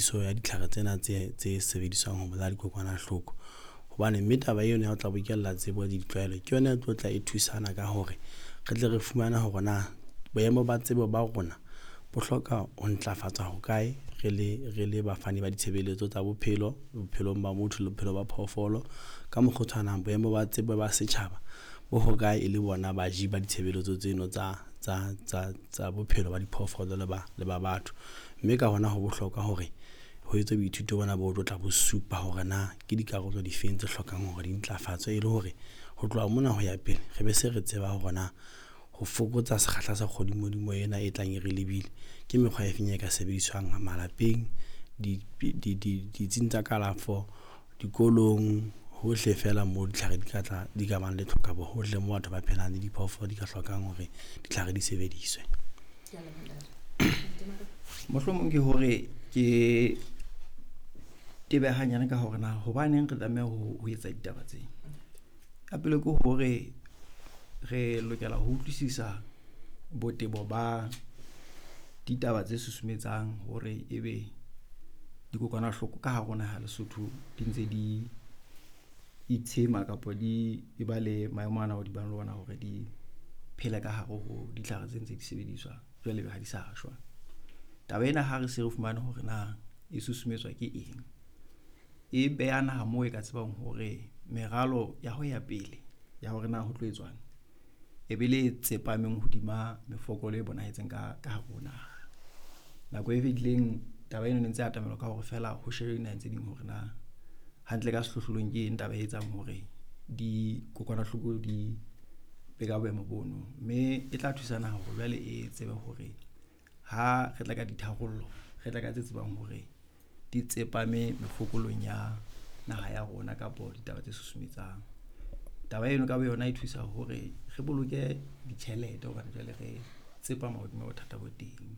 tshebediso ya ditlhare tsena tse sebediswang ho bolaya dikokwanahloko. Hobane mme taba eno ya ho tla bokella tsebo le ditlwaelo ke yona e tlo tla e thusana ka hore re tle re fumane hore na boemo ba tsebo ba rona bo hloka ho ntlafatswa hokae re le bafani ba ditshebeletso tsa bophelo bophelong ba motho le bophelo ba phoofolo. Ka mokgwa o tshwanang, boemo ba tsebo ba setjhaba bo hokae e le bona baji ba ditshebeletso tseno tsa bophelo ba diphoofolo le ba batho. Mme ka hona ho bohlokwa hore ho etswe boithuto bona bo tlo tla bo supa hore na ke dikarolo difeng tse hlokang hore di ntlafatswe, e le hore ho tloha mona ho ya pele re be se re tseba hore na ho fokotsa sekgahla sa kgodimodimo ena e tlang e re lebile ke mekgwa e feng e ka sebediswang malapeng, ditsing tsa kalafo, dikolong, hohle fela mo ditlhare di ka tla di ka bang le tlhokabo, hohle mo batho ba phelang le diphoofolo di ka hlokang hore ditlhare di sebediswe. Mohlomong ke hore ke tebe hanyane ka hore na hobaneng re tlameha ho etsa ditaba tse. Ka pele ke hore re lokela ho utlwisisa botebo ba ditaba tse susumetsang hore ebe dikokwanahloko ka hare ho naha ya Lesotho di ntse di itshema kapa di e ba le maemo ana ao di bang le ona hore di phele ka hare ho ditlhare tse ntse di sebediswa, jwale ebe ha di sa shwa. Taba ena ha re se re fumane hore na e susumetswa ke eng, e beha naha moo e ka tsebang hore meralo ya ho ya pele ya hore na ho tlo etswang e be le tsepameng hodima mefokolo e bonahetseng ka hare ho naha. Nako e fetileng taba eno ne ntse atamelwa ka hore feela ho shebe dinaheng tse ding hore na hantle ka sehlohlolong ke eng taba e etsang hore dikokwanahloko di be ka boemo bono, mme e tla thusa naha hore jwale e tsebe hore ha re tla ka ditharollo, re tla ka tse tsebang hore di tsepame mefokolong ya naha ya rona kapo ditaba tse susumetsang. Taba eno ka boyona e thusa hore re boloke ditjhelete hobane jwale re tsepama hodima bothata bo teng.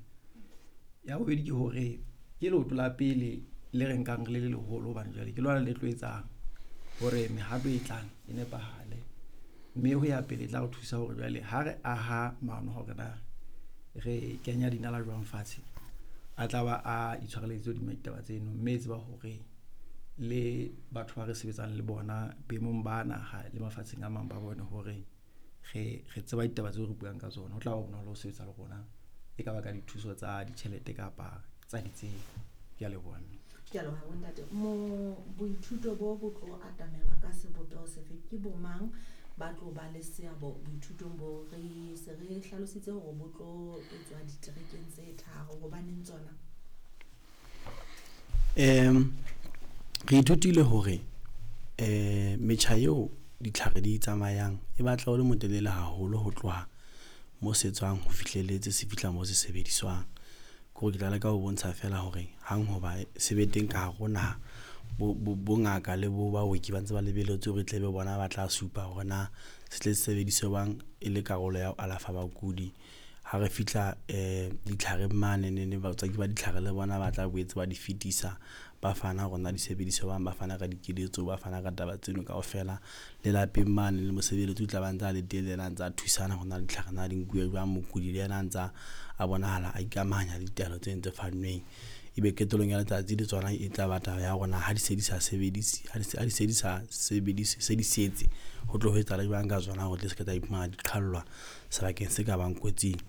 Ya bobedi ke hore ke leoto la pele le re nkang re le leholo hobane jwale ke lona le tlo etsang hore mehato e tlang e nepahale, mme ho ya pele e tla re thusa hore jwale ha re aha maano hore na re kenya dinala jwang fatshe, a tla ba a itshwareleditse hodima ditaba tseno, mme e tseba hore le batho ba re sebetsang le bona boemong ba naha le mafatsheng a mang ba bone hore re tseba ditaba tseo re buang ka tsona. Ho tla ba bonolo ho sebetsa le rona, e ka ba ka dithuso tsa ditjhelete kapa tsa ditsebo. Ke a leboha mme. Ke a leboha, bontate. Mo boithuto bo bo tlo atamelwa ka sebopeho sefe? Ke bo mang ba tlo ba le seabo boithutong bo? Re se re hlalositse hore bo tlo etswa diterekeng tse tharo. Hobaneng tsona? Re ithutile hore metjha eo ditlhare di tsamayang e batla o le motelele haholo ho tloha mo se tswang ho fihlelletse se fihla mo se sebediswang. Ke hore ke tla leka ho bontsha fela hore hang hoba se be teng ka hare ho naha, bongaka le bo baoki ba ntse ba lebelletse hore e tle be bona ba tla supa hore na se tle se sebediswe jwang e le karolo ya ho alafa bakudi. Ha re fihla ditlhareng mane nene, batswaki ba ditlhare le bona ba tla boetse ba di fetisa, ba fana hore na di sebediswa jwang, ba fana ka dikeletso, ba fana ka taba tseno kaofela. Le lapeng mane le mosebeletsi o tla ba ntse a le teng, le yena a ntsa thusana hore na ditlhare na di nkuwe jwang, mokudi le yena a ntsa a bonahala a ikamahanya le ditaelo tseno tse fannweng. Ebe qetellong ya letsatsi le tsona e tla ba taba ya hore na ha di se di sa sebedise, ha di se di sa sebedise, se di setse, ho tlo ho etsahala jwang ka tsona hore tle se ke tsa iphumana di qhallwa sebakeng se ka bang kotsing.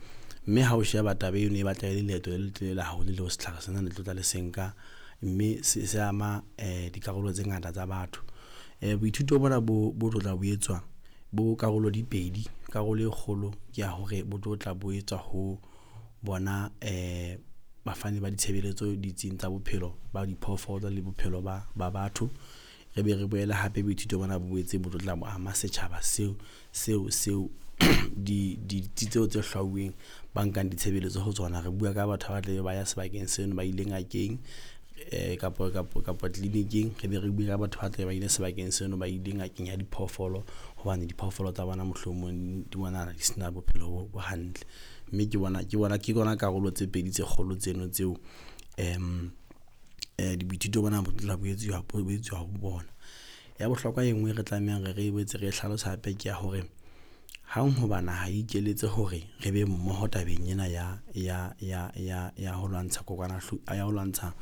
Mme ha o sheba taba eno e batla e le leeto le letelele haholo leo setlhare sena le tlo tla le se nka, mme se ama dikarolo tse ngata tsa batho. Boithuto bona bo tlo tla bo etswa bo karolo di pedi. Karolo e kgolo ke ya hore bo tlo tla bo etswa ho bona bafani ba ditshebeletso ditsing tsa bophelo ba diphoofolo le bophelo ba batho. Re be re boele hape boithuto bona bo boetse bo tlo tla bo ama setjhaba seo ditsi tseo tse hlwauweng ba nkang ditshebeletso ho tsona. Re bua ka batho ba tlabe ba ya sebakeng seno, ba ile ngakeng kapa tleliniking. Re be re bue ka batho ba tlabe ba ile sebakeng seno, ba ile ngakeng ya diphoofolo hobane diphoofolo tsa bona mohlomong di bonahala di sena bophelo bo hantle. Mme ke bona karolo tse pedi tse kgolo tseno tseo boithuto bona bo tla bo etsuwa ho bona. Ya bohlokwa e nngwe re tlamehang re boetse re hlalosa hape ke ya hore hang hoba naha e ikeletse hore re be mmoho tabeng ena ya ho lwantsha kokwanahloko ya ho lwantsha.